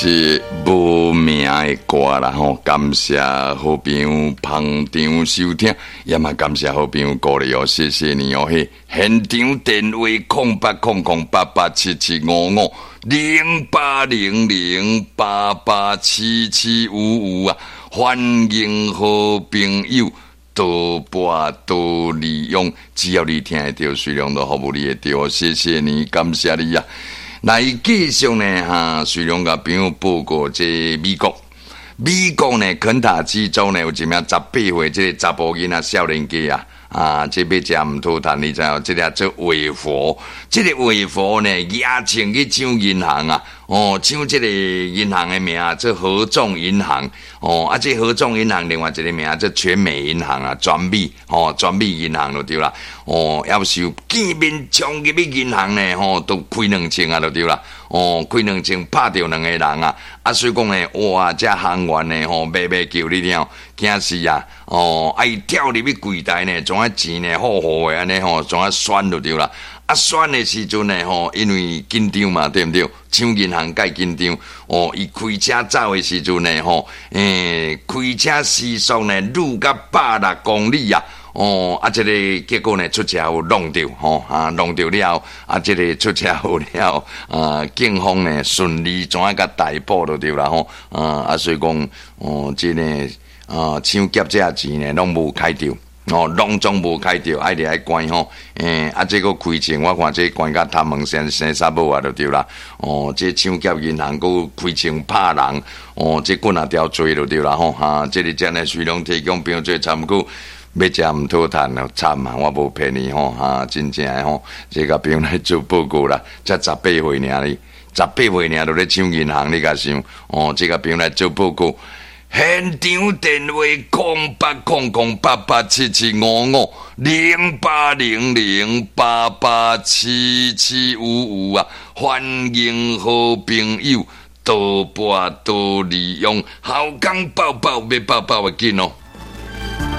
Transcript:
是無名的歌啦吼，感謝好朋友捧場收聽，也嘛感謝好朋友鼓勵哦，謝謝你哦。嘿，現場電話0800887755，0800887755啊，歡迎好朋友多撥多利用，只要你聽會著，隨量都服務你會著，謝謝你，感謝你啊。來繼續呢，哈，隨量共朋友報告這美國，美國呢，肯塔基州呢有一名18歲這个查埔囡仔少年家啊，啊，這欲食毋討趁，你知影？這个做畫佛，這个畫佛呢，額槍去搶銀行啊，哦，搶這个銀行的名做合眾銀行，哦，啊，這合眾銀行另外一个名做全美銀行啊，全美，哦，全美銀行就對啦，哦，要是見面衝入去銀行呢，吼，都開兩槍啊，就對啦，哦，開兩槍拍著兩個人啊，啊，所以講呢，哇，這行員呢，吼，欲欲叫你了，驚死啊，哦，啊，伊跳入去櫃台呢，將仔錢呢，好好的按呢吼，將仔選就對啦。啊，選的時陣呢，吼，因為緊張嘛，對毋對？搶銀行蓋緊張，哦，伊開車走的時陣呢，吼，開車時速呢，愈甲160公里啊，哦，啊，這个結果呢，出車禍弄著，吼，啊，弄著了，啊，這个出車禍了，啊，警方呢順利怎仔共逮捕就對啦，吼，啊，啊，所以講，哦，這个啊，搶劫這錢呢，攏無開著。哦，攏總無開著，愛佇愛關吼，啊，這閣開槍，我看這關甲頭毛生生啥某啊，就對啦。哦，這搶劫銀行閣開槍拍人，哦，這棍仔條罪就對啦吼，哈，這个真的隨量提供朋友做參考，欲食毋討趁哦，慘啊！我無騙你吼，哈，真正的吼，這共朋友來做報告啦，才十八歲爾哩，十八歲爾就咧搶銀行，你共想？哦，這共朋友來做報告。現場電話0800887755，0800887755啊！歡迎好朋友多撥多利用，好康報報欲報報會緊哦。